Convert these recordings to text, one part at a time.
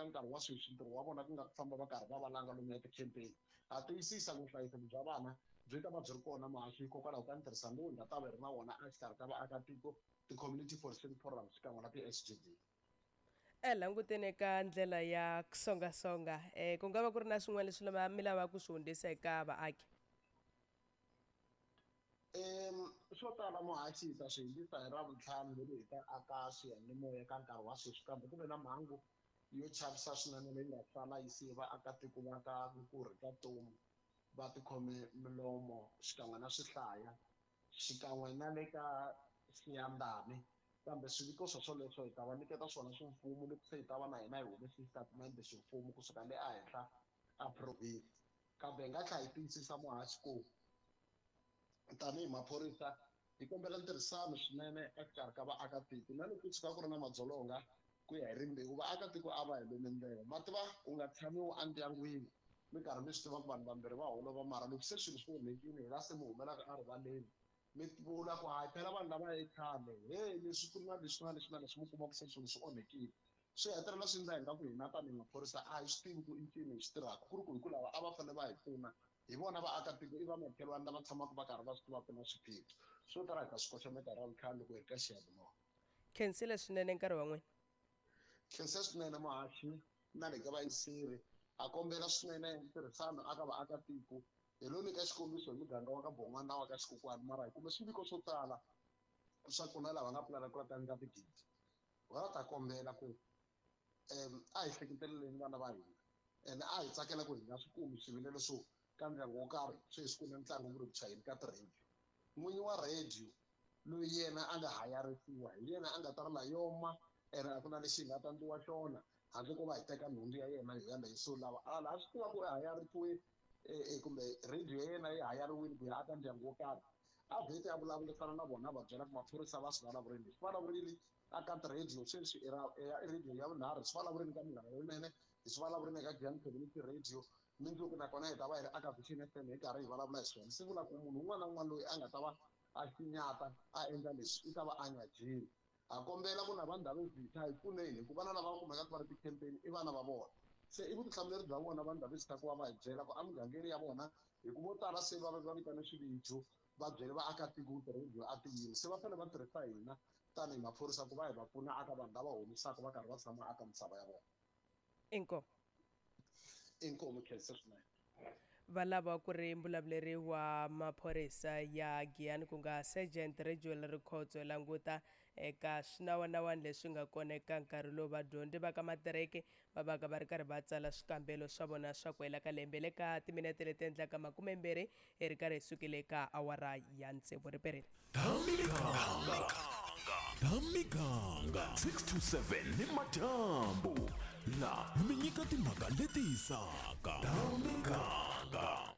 nkarhi wa sweswi ntirho wa vona ku nga ku famba va karhi va valanga lomu ya tikhempeni. Ha tiyisisa ku vuhlayiseki bya vana byi ta va byi ri kona muhaxi hikokwalaho ka ntirhisano lowu hi nga ta va hi ri na wona exikarhi ka vaakatiko, ti-community policing forums xikan'we na ti-S_G_D. E languteni eka ndlela ya songasonga um ku nga va ku ri na swin'wana leswi lava mi lavaka ku swi hundzisa eka vaaki? Swo tala muhaxi hi ta swi hundzisa hi Ravuntlhanu leri hi ta aka swiyanimoya ka nkarhi wa sweswi kambe ku ve na mhangu yo chavisa swinene leyi nga sala yi siye vaakatiko va ka Nkurhi ka Tomu va tikhome milomo xikan'we na swihlaya xikan'we na le ka Siyandhani kambe swiviko swo swoleswo hi ta va nyiketa swona ximfumo loko se hi ta va na hina hi humese xitatimende ximfumo kusuka le ehenhla a province. Kambe hi nga tlhela hi tiyisisa muhaxi ku tanihi maphorisa hi kombela ntirhisano swinene exikarhi ka vaakatiko na loko ku tshuka ku ri na madzolonga ku ya hi rimbewu vaakatiko a va hi lumi ndlela ma tiva ku nga tshamiwi endyangwini mi karhi mi swi tiva ku vanhu vambirhi va holova mara loko se swilo swi onhekile hi la se mi humelaka erivaleni mi vula ku hayi phela vanhu lava i khale he leswi ku na leswi na leswi na leswi mi kuma ku se swilo swi onhekile swi hetelela swi endla hi nga ku hina tanihi maphorisa a hi swi tivi ku i ncini hi swi tirhaka ku ri ku hi ku lava a va fanele va hi pfuna hi vona vaakatiko i vamakhelwani lava tshamaka va karhi va swi tiva ku na swiphiqo swo tala hi ta swi koxa minkarhi ya vutlhanu loko hi ri ka xiyanimoya. Khensile swinene nkarhi wa n'wina. Khensa swinene muhaxi na le ka vayingiseri a kombela swinene ntirhisano aka vaakatiko hi lo nyika xikombiso hi muganga wa ka Bon'wana na wa ka Xikokwani mara hi kume swiviko swo tala swa ku na lava nga pulana ku la ta endla tigidi va ta kombela ku a hi hleketeleleni vana va hina ene a hi tsakela ku hi nga swi kumi swivilelo swo ka ndyangu wo karhi sweswi ku na ntlangu ku ri ku chayeni ka ti-radio n'winyi wa radio loyi yena a nga hayarisiwa hi yena a nga ta ri layoma ene a ku na lexi hi nga ta ndliwa xona handle ko va hi teka nhundzu ya yena hi yaleyo so lava a laha swi tiva ku hayarisiwe kumbe radio ya yena yi hayariwile ku ya aka ndyangu wo karhi a vhete a vulavurisana na vona va byela ku maphorisa va swi vulavurile leswi vulavurile aka ti-radio sweswi i ra i radio ya vunharhu swi vulavurini ka Munghana Lonene hi swi vulavurini eka Giyani Community Radio mundzuku nakona hi ta va hi ri aka Vision F_M hi karhi hi vulavula hi swona swi vula ku munhu un'wana na un'wana loyi a nga ta va a xinyata a endla leswi i ta va a nga jeli ha kombela ku na va Ndhavezitha hi pfuneni hikuva vana lava va kumekaka va ri ti-campaign i vana va vona se i vutihlamuleri bya vona va Ndhavezitha ku va va hi byela ku emugangeni ya vona hi ku vo tala se va va vitane swivijo va byele vaakatiko ku ti-radio a ti yimi se va fanele va tirhisa hina tanihi maphorisa ku va hi va pfuna aka vanhu lava homisaka va karhi va tshama aka misava ya vona. Inkomu. Inkomu khensa swinene. Va lava ku ri mbulavuleri wa maphorisa ya Giyani ku nga Sergeant Rejuel Rikhotso languta eka swinawanawani leswi nga kona eka nkarhi lowu vadyondzi va ka matireke va vaka va ri karhi va tsala swikambelo swa vona swa ku hela ka lembe le ka timinete leti endlaka 20 hi ri karhi hi sukile eka awara ya tsevu riperile. Ta miganga ta miganga 6 to 7 ni madyambu la mi nyika timhaka leti hisaka ta miganga.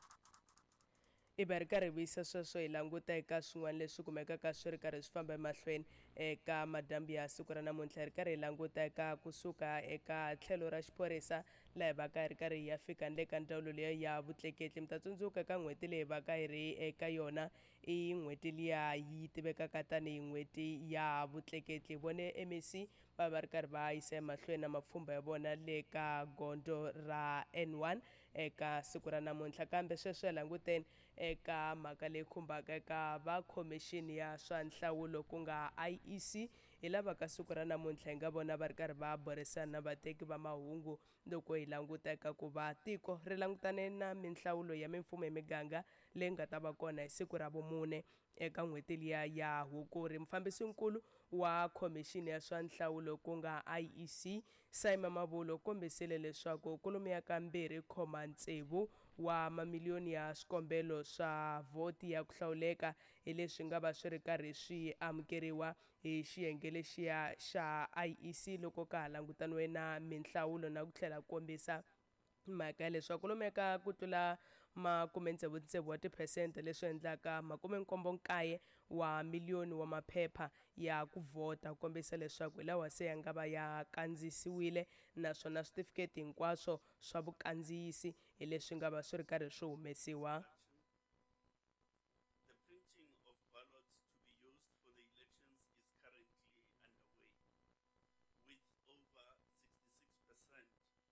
I va ri karhi hi vuyisa sweswo hi languta eka swin'wana leswi kumekaka swi ri karhi swi famba emahlweni eka madyambu ya siku ra namuntlha hi ri karhi hi languta eka kusuka eka tlhelo ra xiphorisa laha hi vaka hi ri karhi hi ya fika ni le ka ndzawulo liya ya vutleketli mi ta tsundzuka ka n'hweti leyi vaka hi ri eka yona i n'hweti liya yi tivekaka tanihi n'hweti ya vutleketli vone MEC va va ri karhi va yisa emahlweni na mapfhumba ya vona le ka gondzo ra N1 eka siku ra namuntlha kambe sweswo hi languteni eka mhaka leyi khumbaka eka va khomixini ya swa nhlawulo ku nga IEC hi lava ka siku ra namuntlha hi nga vona va ri karhi va burisana na vateki va mahungu loko hi languta eka ku va tiko ri langutane na minhlawulo ya mimfumo ya miganga leyi nga ta va kona hi siku ra vumune eka n'hweti liya ya Hukuri mufambisinkulu wa khomixini ya swa nhlawulo ku nga IEC Simon Mavulo kombisile leswaku kwalomuya ka 2.6 wa mamiliyoni ya swikombelo swa vhoti ya ku hlawuleka hi leswi nga va swi ri karhi swi amukeriwa hi xiyenge lexiya xa IEC loko ka ha langutaniwe na minhlawulo na ku tlhela kombisa mhaka ya leswaku kwalomuya ka ku tlula 66 wa tiphesente leswi endlaka 79 wa miliyoni wa maphepha ya ku vhota ku kombisa leswaku hi lawa se ya nga va ya kandziyisiwile naswona switifiketi hinkwaswo swa vukandziyisi hi leswi nga va swi ri karhi swi humesiwa. The printing of ballots to be used for the elections is currently underway, with over 66%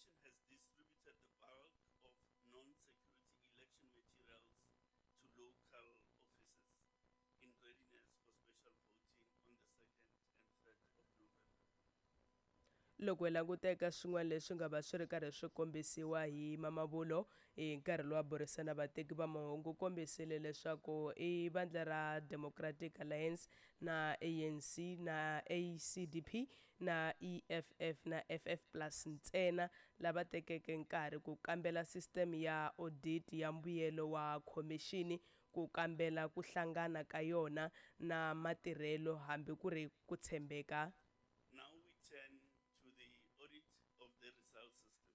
Commission has distributed the bulk of non-security election materials to local offices in readiness for special voting on the 2nd and 3rd of November. Loko hi languta eka swin'wana leswi nga va swi ri karhi swi kombisiwa hi Mamabolo hi nkarhi lowu a burisana vateki va mahungu, u kombisile leswaku i vandla ra Democratic Alliance na ANC na ACDP na EFF na FF plus ntsena lava tekeke nkarhi ku kambela sisiteme ya audit ya mbuyelo wa khomixini, ku kambela ku hlangana ka yona na matirhelo hambi ku ri ku tshembeka. Now we turn to the audit of the result system.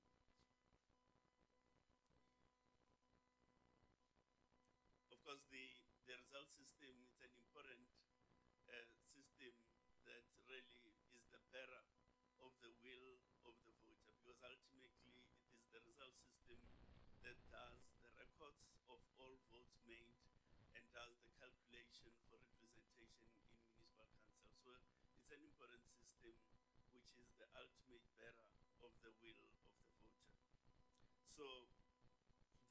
Of course, the result system is an important system that really is the bearer of the will of the voter, because ultimately it is the result system that does the records of all votes made and does the calculation for representation in municipal council. So it's an important system which is the ultimate bearer of the will of the voter. So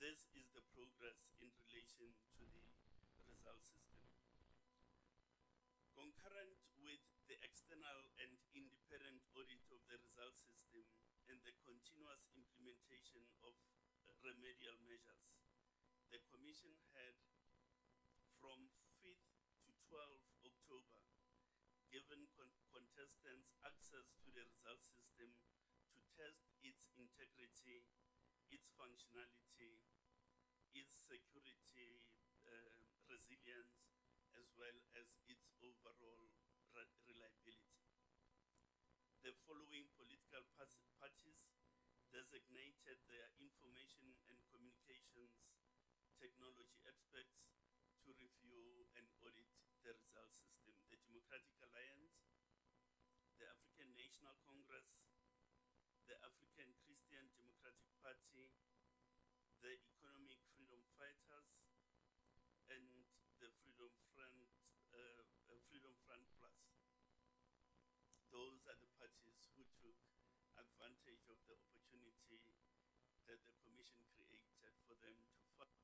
this is the progress in relation to the result system. Concurrent with the external and independent audit of the result system and the continuous implementation of remedial measures, the Commission had from 5th to 12th October given contestants access to the result system to test its integrity, its functionality, its security, resilience, as well as its overall reliability. The following political parties designated their information and communications technology experts to review and audit the result system: the Democratic Alliance, the African National Congress, the African Christian Democratic Party, the Economic Freedom Fighters, and the Freedom Front Plus. Those are the parties who took advantage of the opportunity that the Commission created for them to fight.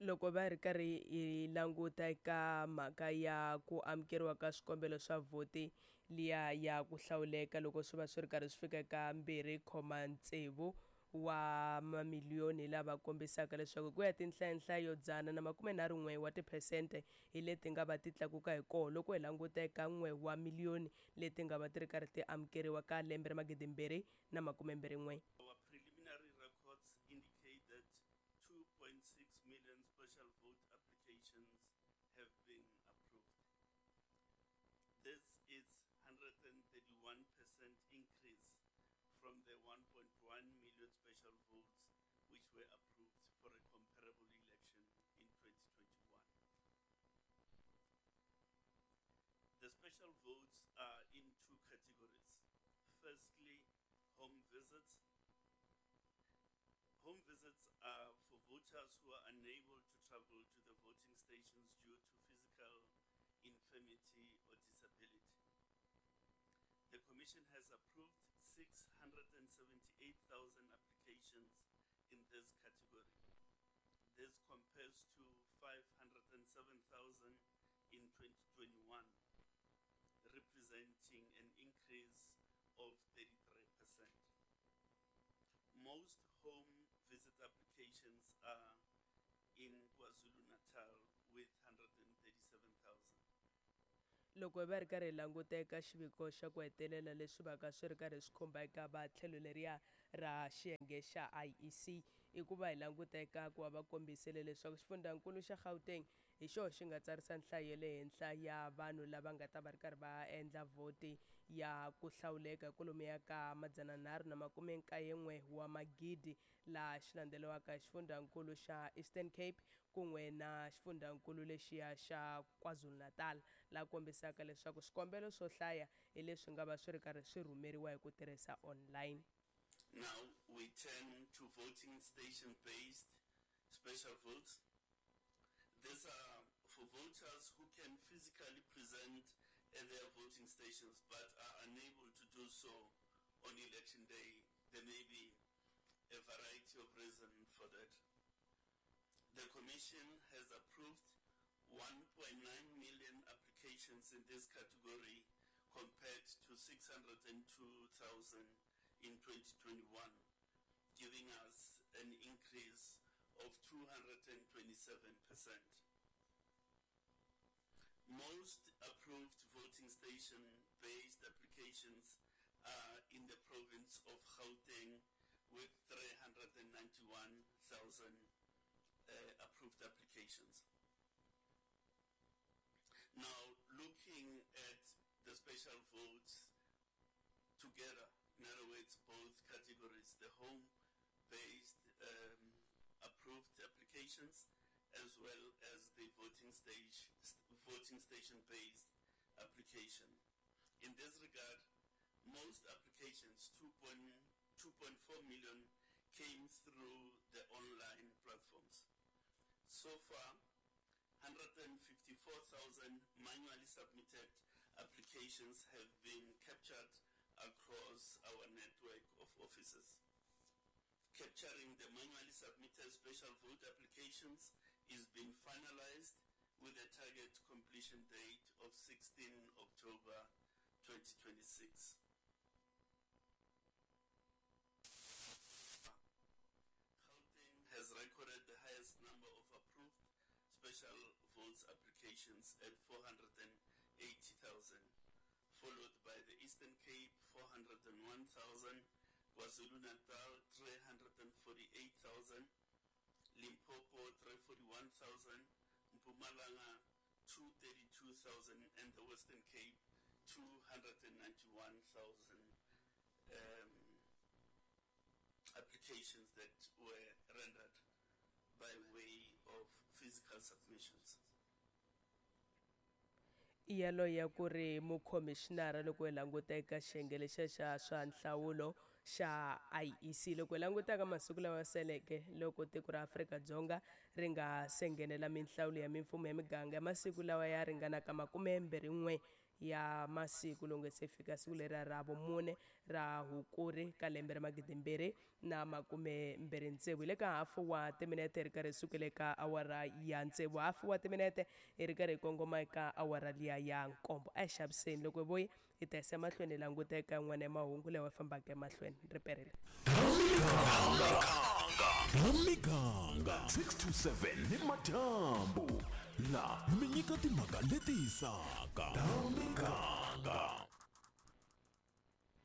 Loko va ri karhi hi languta eka mhaka ya ku amukeriwa ka swikombelo swa vhoti liya ya ku hlawuleka, loko swi va swi ri karhi swi fika eka 2.6 wa mamiliyoni, lava kombisaka leswaku ku ya tinhlayanhlayo 131 wa tiphesente hi leti nga va ti tlakuka hi koho loko hi languta eka 1 wa miliyoni leti nga va ti ri karhi ti amukeriwa ka lembe ra 2021. Our preliminary records indicate that 2.6 million special vote applications have been approved. This is 131% increase from the 1.1 million special votes which were approved for a comparable election in 2021. The special votes are in two categories. Firstly, home visits. Home visits are for voters who are unable to travel to the voting stations due to physical infirmity or disability. The Commission has approved 678,000 applications in this category. This compares to 507,000 in 2021, representing an increase of 33%. Most home visit applications are in KwaZulu-Natal with 137,000. Loko va ri karhi hi languta eka xiviko xa ku hetelela leswi vaka swi ri karhi swi khumba eka va tlhelo leriya ra xiyenge xa IEC, i ku va hi languta eka ku va va kombisile leswaku xifundzankulu xa Gauteng hi xoho xi nga tsarisa nhlayo ya le henhla ya vanhu lava nga ta va ri karhi va endla vhoti ya ku hlawuleka kwalomuya ka 391 wa magidi, laha xi landzeriwaka hi xifundzankulu xa Eastern Cape kun'we na xifundzankulu lexiya xa KwaZulu-Natal, laha kombisaka leswaku swikombelo swo hlaya hi leswi nga va swi ri karhi swi rhumeriwa hi ku tirhisa online. Now we turn to voting station-based special votes. These are for voters who can physically present at their voting stations but are unable to do so on election day. There may be a variety of reasons for that. The Commission has approved 1.9 million applications in this category compared to 602,000 in 2021, giving us an increase of 227%. Most approved voting station-based applications are in the province of Gauteng with 391,000 approved applications. Now, looking at the special votes together, in other words, both categories, the home-based approved applications as well as the voting station-based application. In this regard, most applications, 2.4 million, came through the online platforms. So far, 154,000 manually submitted applications have been captured across our network of offices. Capturing the manually submitted special vote applications is being finalized with a target completion date of 16 October 2026. Gauteng has recorded the highest number of approved special votes applications at 480,000, followed by the Eastern Cape 401,000, KwaZulu-Natal 348,000, Limpopo 341,000, Mpumalanga 232,000, and the Western Cape 291,000 applications that were rendered by way of physical submissions. Yaloye ya ku ri mukhomixinara loko hi languta eka xiyenge lexiya xa swa nhlawulo xa IEC. Loko hi languta ka masiku lawa seleke loko tiko ra Afrika-Dzonga ri nga se nghenela minhlawulo ya mimfumo ya miganga ya masiku lawa ya ringanaka 21 ya masiku loko nge se fika siku leriya ra vumune ra Hukuri ka lembe ra 2026. Hi le ka hafu wa timinete hi ri karhi hi sukele ka awara ya 6, hafu wa timinete hi ri karhi hi kongoma eka awara liya ya 7. A hi xaviseni loko hi vuya hi ta yisa emahlweni hi languta eka yin'wana ya mahungu lawa fambaka emahlweni. Ri perile. Miganga 6 to 7 ni madyambu la mi nyika timhaka leti hisaka ta miganga.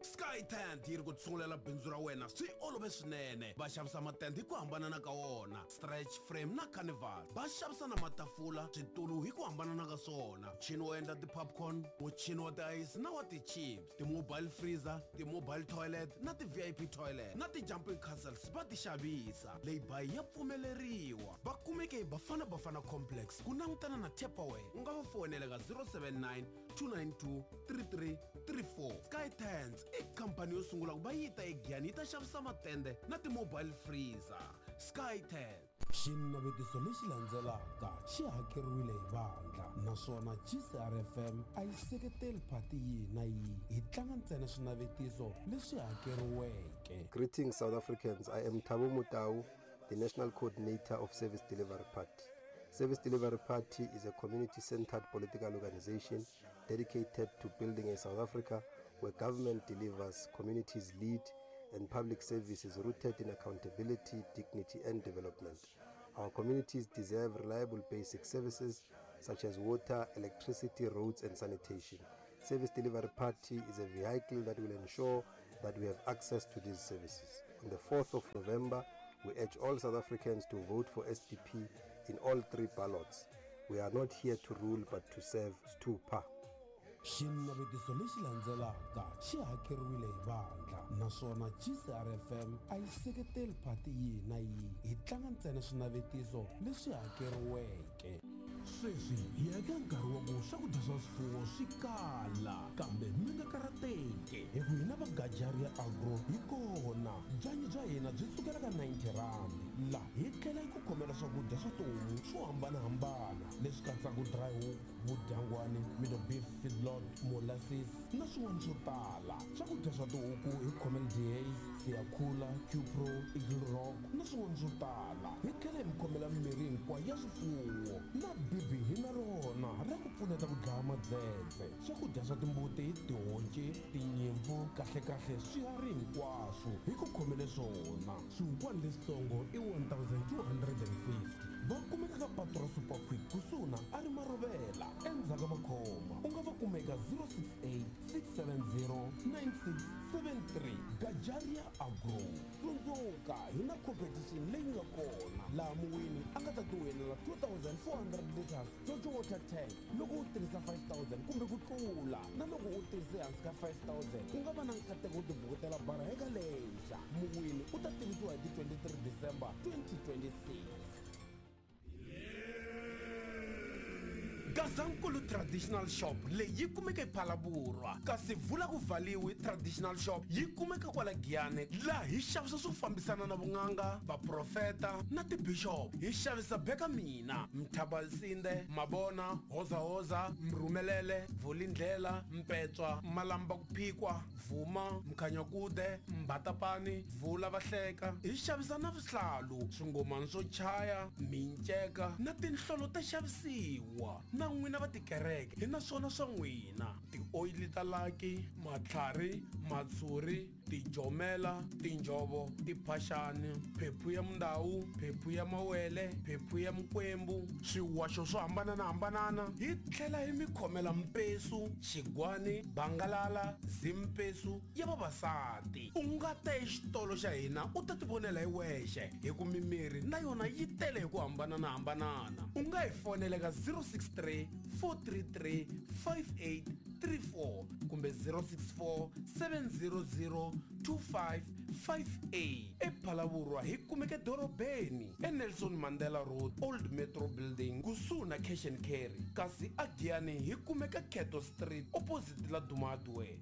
Sky Tent yi ri ku tsungulela bindzu ra wena swi olove swinene. Va xavisa matende hi ku hambanana ka wona, stretch frame na carnival. Va xavisa na matafula, switulu hi ku hambanana ka swona, muchini wo endla ti-popcorn, muchini wa ti-ice na wa ti-chips, ti-mobile freezer, ti-mobile toilet na ti-VIP toilet na ti-jumping castles va ti xavisa. Lay-by ya pfumeleriwa. Va kumeke hi Bafana Bafana Complex ku langutana na Tupperware. U nga va foyinela ka 079 292 3334. Sky Tents i khampani yo sungula ku va yi ta eGiyani yi ta xavisa matende na ti-mobile freezer. Sky Tent. Xinavetiso lexi landzelaka xi hakeriwile hi vandla naswona GCRFM a yi seketeli phati yihi na yihi. Hi tlanga ntsena swinavetiso leswi hakeriweke. Greetings, South Africans. I am Thabo Motau, the National Coordinator of Service Delivery Party. Service Delivery Party is a community-centered political organization dedicated to building a South Africa where government delivers, communities lead, and public service is rooted in accountability, dignity, and development. Our communities deserve reliable basic services such as water, electricity, roads, and sanitation. Service Delivery Party is a vehicle that will ensure that we have access to these services. On the 4th of November, we urge all South Africans to vote for SDP in all three ballots. We are not here to rule but to serve. Stupa. Xinavetiso lexi landzelaka xi hakeriwile hi vandla naswona GCRFM a yi seketeli phati yihi na yihi. Hi tlanga ntsena swinavetiso leswi hakeriweke. Sweswi hi ya eka nkarhi wa ku swakudya swa swifuwo swi kala, kambe mi nga karhateki hi ku hina va Gajaria Agro hi kona. Byanyi bya hina byi sukela ka 90 rand. Laha hi tlhela hi ku khomela swakudya swa tihomu swo hambanahambana leswi katsaka dry hook, vudyangwani, middle beef feedlot, molasses na swin'wana swo tala. Swakudya swa tihuku hi khomela Dehaze, Siyakhula, Qpro, Eagle Rock na swin'wana swo tala. Hi tlhela hi mi khomela mimirhi hinkwayo ya swifuwo na bibi hi na rona ra ku pfuneta ku dlaya madzedze. Swakudya swa timbuti, tihonci, tinyimpfu, kahlekahle swiharhi hinkwaswo hi ku khomele swona. Swihukwana leswitsongo i 1250. Va kumeka ka patu ra Super Quick kusuhi na a ri Marovela endzhaku ka Makhoma. U nga va kuma eka 068 670 9673. Gajaria Agro. Tsundzuka hi na competition leyi nga kona laha muwini a nga ta tiwinela 2400 liters Jojo water tank loko u tirhisa 5000 kumbe ku tlula, na loko u tirhise hansi ka 5000 u nga va na nkateko wo tibukutela bara eka lexa. Muwini u ta tivisiwa hi ti 23 December 2026. Gazankulu Traditional Shop leyi yi kumeka ePhalaborwa, kasi Vula ku Valiwi Traditional Shop yi kumeka kwala Giyani, laha hi xavisa swo fambisana na vun'anga, vaprofeta na tibishop. Hi xavisa Beka Mina, Mthabalsinde, Mabona, Hozahoza, Mrhumelele, Vulindlela, Mpetswa, Malamba ku Phikwa, Vuma, Mkhanyakude, Mbatapani, Vula Vahleka. Hi xavisa na swihlalu, swingomani swo chaya, minceka na tinhlolo ta xavisiwa. Na n'wina va tikereke hi na swona swa n'wina, tioyili ta laki, matlhari, matshuri, tijomela, tinjhovo, tiphaxani, phephu ya mundawu, phephu ya mawele, phephu ya mikwembu, swiwaxo swo hambananahambanana. Hi tlhela hi mi khomela mpesu, xigwani, bangalala, zimpesu ya vavasati. U nga ta exitolo xa hina u ta tivonela hi wexe, hi ku mimiri na yona yi tele hi ku hambananahambanana. U nga hi fonela ka 063 433 5834 kumbe 064 700 2558. ePhalaborwa hi kumeka edorobeni eNelson Mandela Road, Old Metro Building, kusuhi na Cash and Carry, kasi aGiyani hi kumeka Keto Street opposite la Duma Hardware.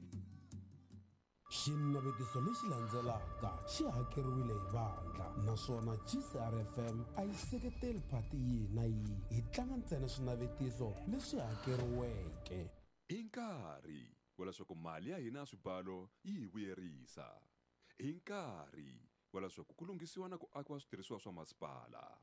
Xinavetiso lexi landzelaka xi hakeriwile hi vandla naswona GCRFM a yi seketeli phati yihi na yihi. Hi tlanga ntsena swinavetiso leswi hakeriweke. I nkarhi wa leswaku mali ya hina ya swibalo yi hi vuyerisa. I nkarhi wa leswaku ku lunghisiwa na ku akiwa switirhisiwa swa masipala.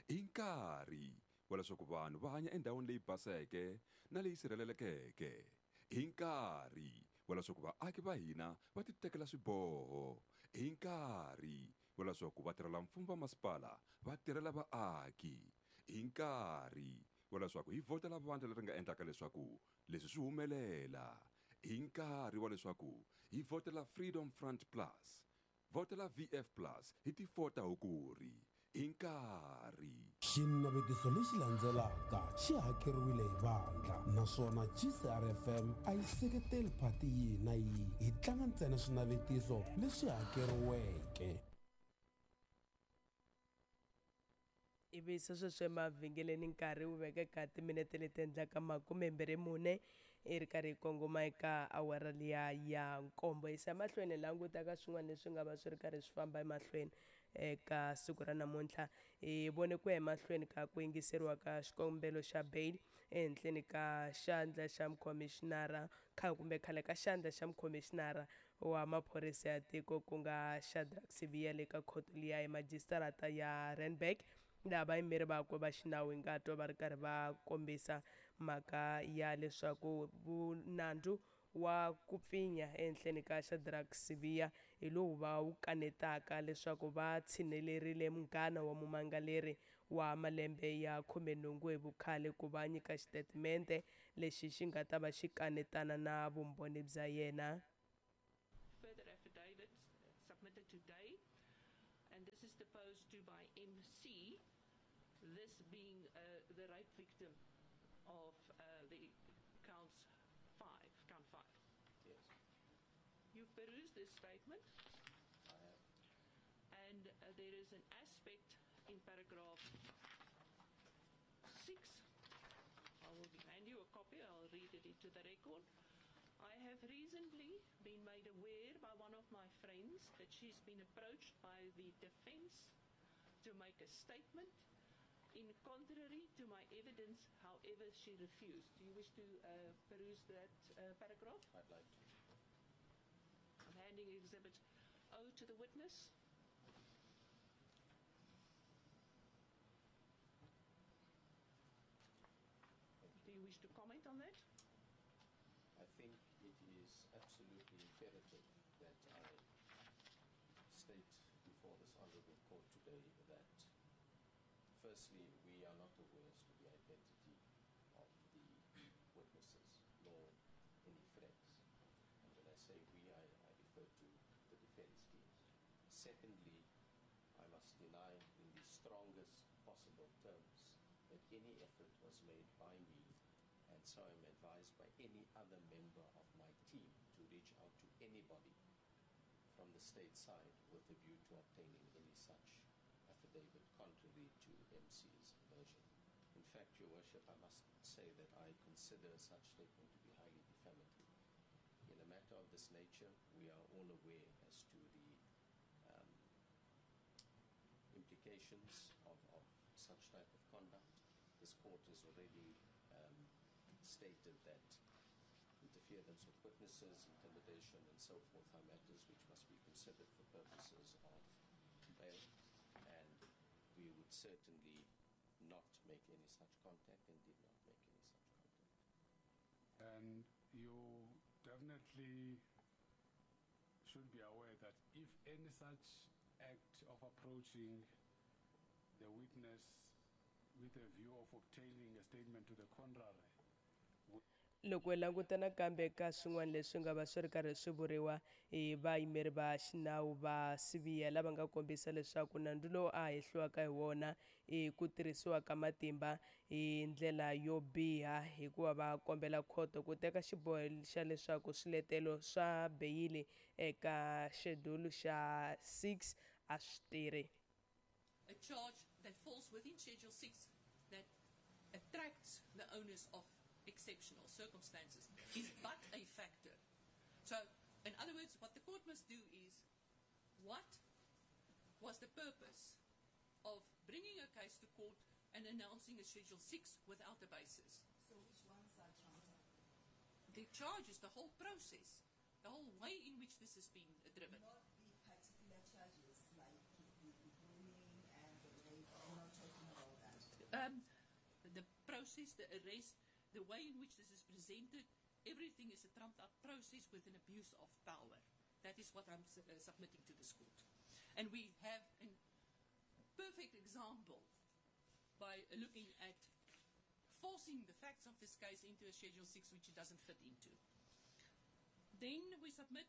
I nkarhi wa leswaku vanhu va hanya endhawini leyi baseke na leyi sirhelelekeke. I nkarhi wa leswaku vaaki va hina va titekela swiboho. I nkarhi wa leswaku vatirhelamfumo va masipala va tirhela vaaki. I nkarhi wa leswaku hi vhotela vandla leri nga endlaka leswaku leswi swi humelela. I nkarhi wa leswaku hi vhotela Freedom Front Plus. Vhotela VF Plus hi ti 4 ta Hukuri. I nkarhi. Xinavetiso lexi landzelaka xi hakeriwile hi vandla naswona GCRFM a yi seketeli phati yihi na yihi. Hi tlanga ntsena swinavetiso leswi hakeriweke. Ivi sweswo emavhengeleni nkarhi wu vekeka timinete leti endlaka 24 i ri karhi yi kongoma eka awara liya ya nkombo. Yisa emahlweni languta ka swin'wana leswi nga va swi ri karhi swi famba emahlweni eka siku ra namuntlha. Hi vone ku ya emahlweni ka ku yingiseriwa ka xikombelo xa bail ehenhleni ka xandla xa mukhomishinara kumbe khale ka xandla xa mukhomishinara wa maphorisa ya tiko ku nga Shadrack Sibiya le ka khoto liya ya majisitarata ya Randburg, laha vayimeri vakwe va xinawu hi nga twa va ri karhi va kombisa mhaka ya leswaku vunandzu wa ku pfinya ehenhleni ka Shadrack Sibiya hi lowu va wu kanetaka leswaku va tshinelerile munghana wa mumangaleri wa malembe ya 18 hi vukhale ku va nyika xitatimende lexi xi nga ta va xi kanetana na vumbhoni bya yena. Further affidavits submitted today, and this is deposed to by MC, this being the rape victim of the counts 5, count 5. Yes. You've perused this statement. I have. And there is an aspect in paragraph 6. I will hand you a copy. I'll read it into the record. I have recently been made aware by one of my friends that she's been approached by the defense to make a statement in contrary to my evidence, however, she refused. Do you wish to peruse that paragraph? I'd like to. I'm handing Exhibit O to the witness. Do you wish to comment on that? I think it is absolutely imperative that I state before this honorable court today that, firstly, we are not aware as to the identity of the witnesses, nor any threats. And when I say we, I refer to the defense teams. Secondly, I must deny in the strongest possible terms that any effort was made by me, and so I'm advised by any other member of my team, to reach out to anybody from the state side with a view to obtaining any such affidavit contrary to MC's version. In fact, Your Worship, I must say that I consider such statement to be highly defamatory. In a matter of this nature, we are all aware as to the implications of such type of conduct. This court has already stated that interference with witnesses, intimidation, and so forth are matters which must be considered for purposes of bail, and we would certainly not make any such contact and did not make any such contact. And you definitely should be aware that if any such act of approaching the witness with a view of obtaining a statement to the contrary Loko hi languta nakambe ka swin'wana leswi nga va swi ri karhi swi vuriwa hi vayimeri va xinawu va Sibiya, lava nga kombisa leswaku nandzu lowu a hehliwaka hi wona i ku tirhisiwa ka matimba hi ndlela yo biha, hikuva va kombela khoto ku teka xiboho xa leswaku swiletelo swa beyili eka xedulu xa 6 a swi tirhi. A charge that falls within Schedule 6 that attracts the onus of exceptional circumstances is but a factor. So, in other words, what the court must do is, what was the purpose of bringing a case to court and announcing a Schedule 6 without a basis? So which ones are trumped up? The charges, the whole process, the whole way in which this has been driven. Not the particular charges like the grooming and the rape. We're not talking about that. The process, the arrest, the way in which this is presented, everything is a trumped-up process with an abuse of power. That is what I'm submitting to this court. And we have a perfect example by looking at forcing the facts of this case into a Schedule 6 which it doesn't fit into. Then we submit,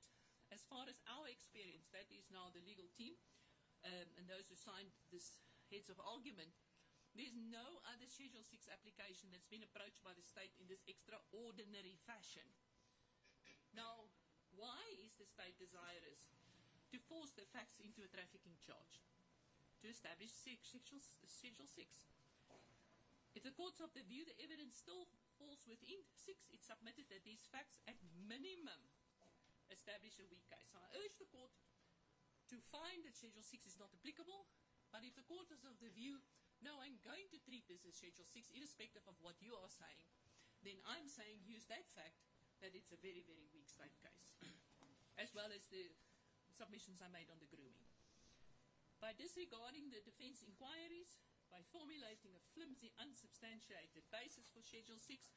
as far as our experience, that is now the legal team, and those who signed this heads of argument, there's no other Schedule 6 application that's been approached by the state in this extraordinary fashion. Now, why is the state desirous to force the facts into a trafficking charge? To establish Schedule 6. If the court's of the view the evidence still falls within 6, it's submitted that these facts at minimum establish a weak case. So I urge the court to find that Schedule 6 is not applicable, but if the court is of the view, no, I'm going to treat this as Schedule 6, irrespective of what you are saying, then I'm saying use that fact that it's a very, very weak state case, as well as the submissions I made on the grooming. By disregarding the defense inquiries, by formulating a flimsy, unsubstantiated basis for Schedule 6,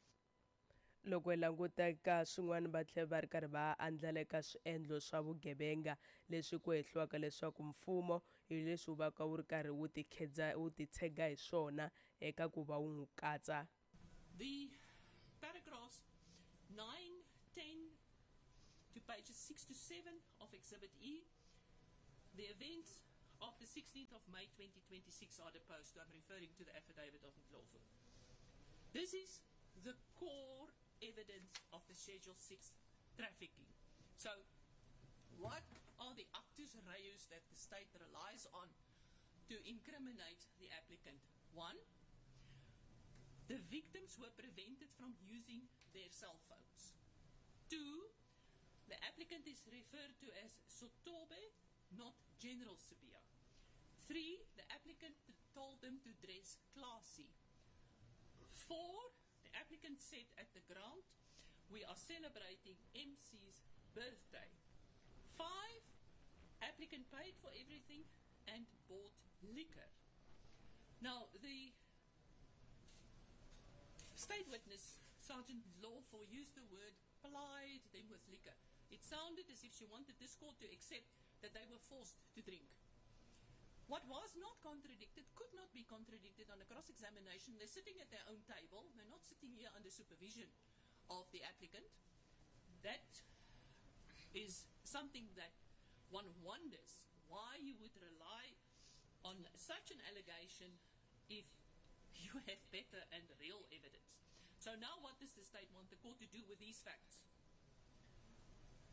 Loko hi languta ka swin'wana va tlhela va ri karhi va andlala eka swiendlo swa vugevenga leswi ku hehliwaka leswaku mfumo hi leswi wu vaka wu ri karhi wu tikhedza wu titshega hi swona eka ku va wu n'wi katsa. The paragraphs 9, 10 to pages 6 to 7 of Exhibit E, the events of the 16th of May 2026 are deposed to. I'm referring to the affidavit of Ndlovu. This is the core evidence of the Schedule 6 trafficking. So, what are the actus reus that the state relies on to incriminate the applicant? 1, the victims were prevented from using their cell phones. 2, the applicant is referred to as Sotobe, not General Sibiya. 3, the applicant told them to dress classy. 4, the applicant said at the ground, we are celebrating MC's birthday. 5, applicant paid for everything and bought liquor. Now, the state witness, Sergeant Lawful, used the word plied them with liquor. It sounded as if she wanted this court to accept that they were forced to drink. What was not contradicted could not be contradicted on a cross-examination. They're sitting at their own table. They're not sitting here under supervision of the applicant. That is something that one wonders why you would rely on such an allegation if you have better and real evidence. So now what does the state want the court to do with these facts?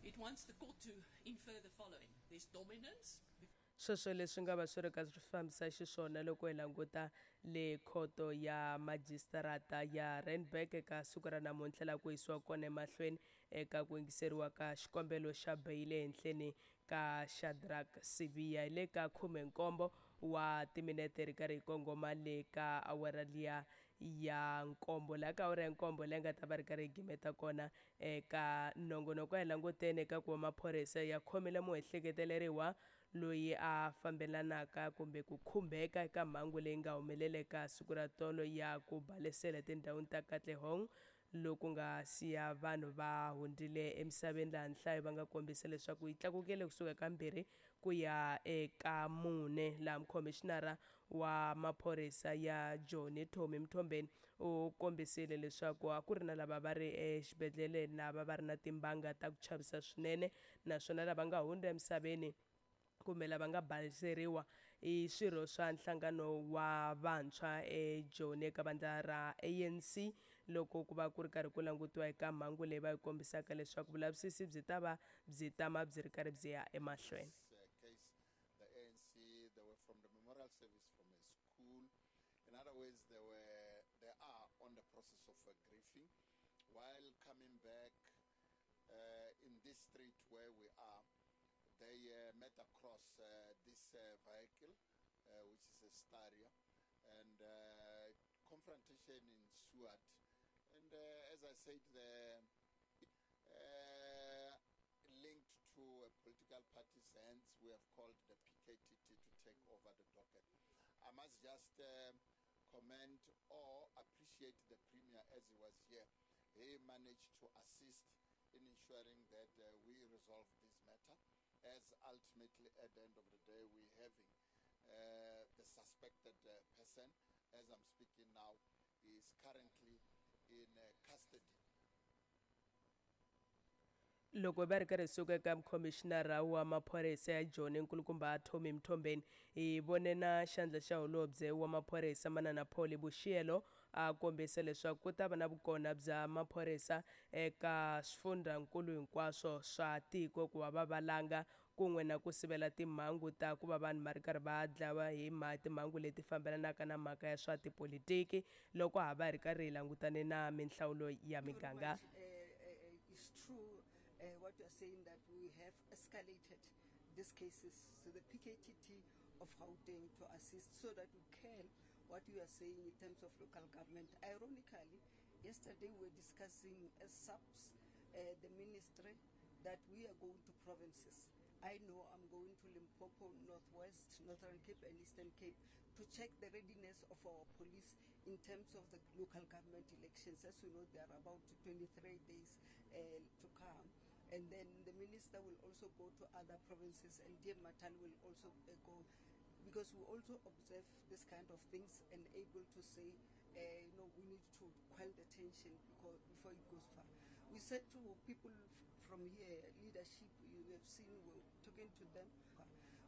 It wants the court to infer the following. There's dominance. Sweswo leswi nga va swi ri ka swi fambisa xiswona loko hi languta le khoto ya majistarata ya Randburg eka siku ra namuntlha laha ku yisiwa kona emahlweni eka ku yingiseriwa ka xikombelo xa beyili ehenhleni ka Shadrack Sibiya. Hi le ka 17 wa timinete ri karhi hi kongoma le ka awara liya ya nkombo, laha ka awara ya nkombo leyi nga ta va ri karhi hi gimeta kona eka nongonoko. Hi languteni eka ku va maphorisa ya khomile muehleketeleriwa loyi a fambelanaka kumbe ku khumbeka eka mhangu leyi nga humelela eka siku ra tolo ya ku balesela etindhawini ta Katlehong, loku nga siya vanhu va hundzile emisaveni, laha nhlayo va nga kombisa leswaku yi tlakukile kusuka ka 2 ku ya eka 4, laha mukhomishinara wa maphorisa ya Joni Tommy Mthombeni u kombisile leswaku a ku ri na lava va ri exibedhlele lava va ri na timbanga ta ku chavisa swinene, naswona lava nga hundza emisaveni kumbe lava nga baleseriwa i swirho swa nhlangano wa vantshwa eJoni eka vandla ra ANC, loko ku va ku ri karhi ku langutiwa eka mhangu leyi va yi kombisaka leswaku vulavisisi byi ta va byi tama byi ri karhi byi ya emahlweni. The ANC, they were from the memorial service from a school. In other words, they are on the process of grieving. While coming back in this street where we are, they met across this vehicle, which is a Staria, and confrontation ensued. And as I said, the linked to a political party's hands, we have called the PKTT to take over the docket. I must just comment or appreciate the Premier as he was here. He managed to assist in ensuring that we resolve this matter, as ultimately at the end of the day we're having the suspected person, as I'm speaking now, is currently in custody. Loko va ri karhi suka eka mukhomishinara wa maphorisa ya Joni nkulukumba Tommy Mthombeni, hi vone na xandla xa holobye wa maphorisa Manana Paul Boshielo a kombisa leswaku ku ta va na vukona bya maphorisa eka swifundzankulu hinkwaswo swa tiko ku va va valanga kun'we na ku sivela timhangu ta ku va vanhu va ri karhi va dlawa hi timhangu leti fambelanaka na mhaka ya swa tipolitiki loko ha va ri karhi hi langutane na minhlawulo ya miganga. What you are saying, that we have escalated these cases to the PKTT of Gauteng to assist so that we can, what you are saying in terms of local government. Ironically, yesterday we were discussing as SAPS, the ministry, that we are going to provinces. I know I'm going to Limpopo, Northwest, Northern Cape and Eastern Cape to check the readiness of our police in terms of the local government elections. As we know, there are about 23 days to come. And then the minister will also go to other provinces, and DM Mathale will also go, because we also observe this kind of things and able to say, you know, we need to quell the tension before it goes far. We said to people from here, leadership, you have seen, we're talking to them.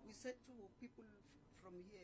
We said to people from here,